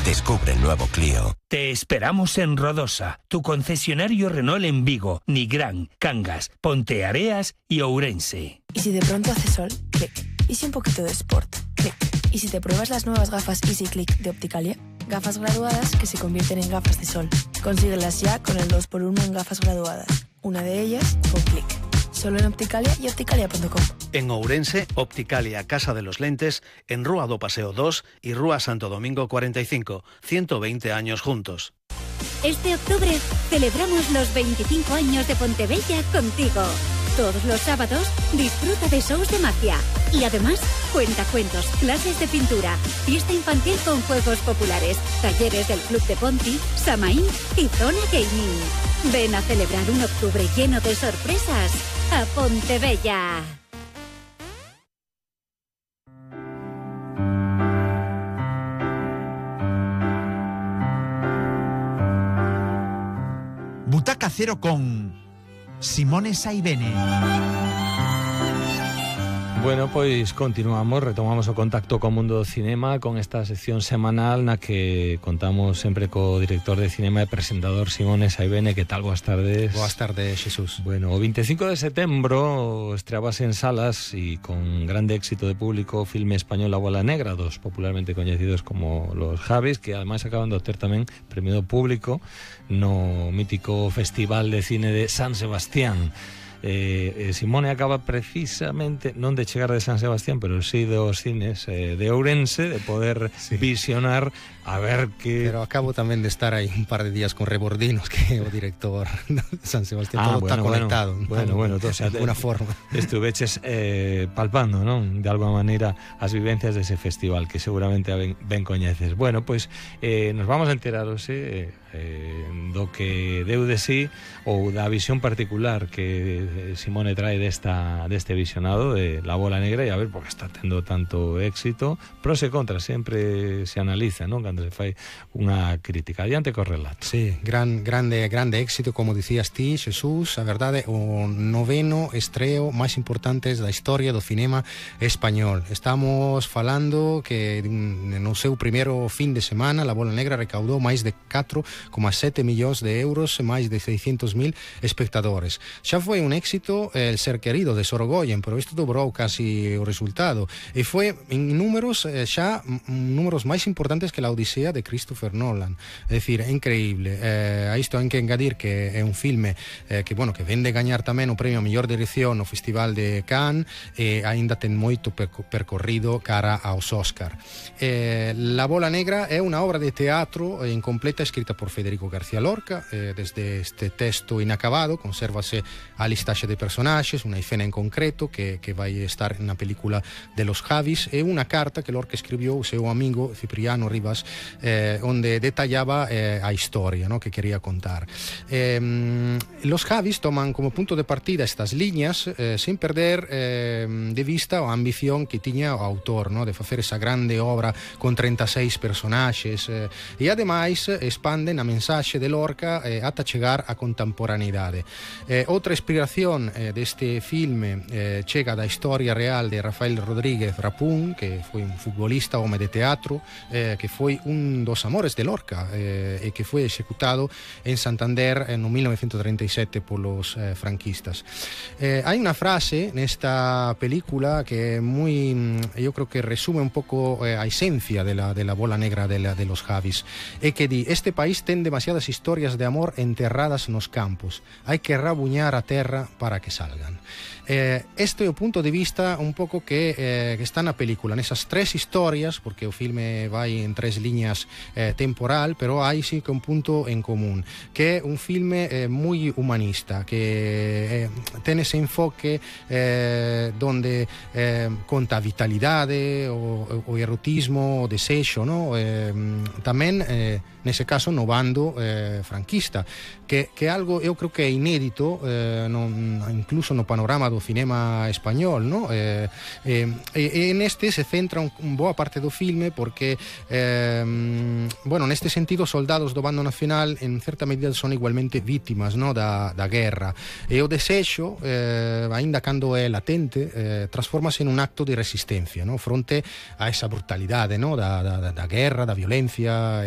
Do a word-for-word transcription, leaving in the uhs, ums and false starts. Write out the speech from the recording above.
Descubre el nuevo Clio. Te esperamos en Rodosa, tu concesionario Renault en Vigo, Nigrán, Cangas, Ponteareas y Ourense. ¿Y si de pronto hace sol? Clic. ¿Y si un poquito de sport? Clic. ¿Y si te pruebas las nuevas gafas Easy Click de Opticalia? Gafas graduadas que se convierten en gafas de sol. Consíguelas ya con el dos por uno en gafas graduadas. Una de ellas con Clic. Solo en Opticalia y opticalia punto com. En Ourense, Opticalia Casa de los Lentes, en Rúa do Paseo dos y Rúa Santo Domingo cuarenta y cinco. ciento veinte años juntos. Este octubre celebramos los veinticinco años de Pontevella contigo. Todos los sábados disfruta de shows de magia. Y además, cuentacuentos, clases de pintura, fiesta infantil con juegos populares, talleres del Club de Ponti, Samaín y Zona Gaming. Ven a celebrar un octubre lleno de sorpresas a Pontevella. Butaca Cero con Simone Saibene. Bueno, pois continuamos, retomamos o contacto co mundo do cinema con esta sección semanal na que contamos sempre co director de cinema e presentador Simone Saibene. Que tal? Boas tardes. Boas tardes, Xesús. Bueno, o veinticinco de setembro estreabase en salas e con grande éxito de público o filme español A Bola Negra, dos popularmente coñecidos como Los Javis, que ademais acaban de obter tamén premio do público no mítico Festival de Cine de San Sebastián. Eh, eh, Simone acaba precisamente non de chegar de San Sebastián, pero sí dos cines eh, de Ourense, de poder sí. visionar a ver que... Pero acabo tamén de estar aí un par de días con Rebordinos, que é o director de San Sebastián. Ah, todo bueno, está conectado. Bueno, bueno, bueno, o sea, de alguna forma. Estuveches eh, palpando, non? De alguma maneira as vivencias dese festival que seguramente ben, ben coñeces. Bueno, pois pues, eh, nos vamos a enteraros eh, eh, do que deu de sí ou da visión particular que Simone trae desta, deste visionado de La Bola Negra, e a ver por que está tendo tanto éxito. Pros e contras sempre se analiza, non? Cando se fai unha crítica. Adiante co relato. Sí, gran, grande, grande éxito, como dicías ti, Xesús. A verdade, o noveno estreo máis importantes da historia do cinema español. Estamos falando que no seu primeiro fin de semana La Bola Negra recaudou máis de catro coma sete millóns de euros e máis de seiscentos mil espectadores. Xa foi un éxito el ser querido de Sorogoyen, pero isto dobrou casi o resultado, e foi en números xa números máis importantes que la Odisea de Christopher Nolan. É dicir, é increíble. Eh, a isto hai que engadir que é un filme eh, que, bueno, que vende gañar tamén o premio a mellor dirección no Festival de Cannes, e aínda ten moito percorrido cara aos Oscar. Eh, La Bola Negra é unha obra de teatro incompleta escrita por Federico García Lorca. Eh, desde este texto inacabado consérvase a listaxe de personaxes, unha escena en concreto que, que vai estar na película de Los Javis, e unha carta que Lorca escribiu ao seu amigo Cipriano Rivas, eh, onde detallaba eh, a historia, ¿no?, que quería contar. Eh, Los Javis toman como punto de partida estas liñas eh, sin perder eh, de vista a ambición que tiña o autor, ¿no?, de facer esa grande obra con treinta e seis personaxes, eh, e ademais expanden a mensaxe de Lorca eh, ata chegar á contemporaneidade. Eh, outra inspiración eh, deste filme eh, chega da historia real de Rafael Rodríguez Rapún, que foi un futbolista, home de teatro, eh, que foi un dos amores de Lorca eh, e que foi executado en Santander en no mil novecientos treinta e sete polos eh, franquistas. Eh, hai unha frase nesta película que é moi, eu creo que resume un pouco eh, a esencia de la, de la Bola Negra de, la, de Los Javis, e que di: este país ten demasiadas historias de amor enterradas nos campos, hai que rabuñar a terra para que salgan. Eh, este é o punto de vista un pouco que, eh, que está na película, nesas tres historias, porque o filme vai en tres liñas eh, temporal, pero hai sí que un punto en común, que é un filme eh, moi humanista, que eh, ten ese enfoque eh, donde eh, conta a vitalidade, o, o erotismo, o desexo, no? eh, tamén eh, nese caso no bando eh, franquista, que, que algo eu creo que é inédito eh, no, incluso no panorama do cinema español, no? eh, eh, e, e neste se centra un, un boa parte do filme porque eh, bueno, neste sentido os soldados do bando nacional en certa medida son igualmente vítimas, no? da, da guerra, e o desexo eh, aínda cando é latente eh, transformase en un acto de resistencia, no? Fronte a esa brutalidade, no? da, da, da guerra, da violencia, etcétera.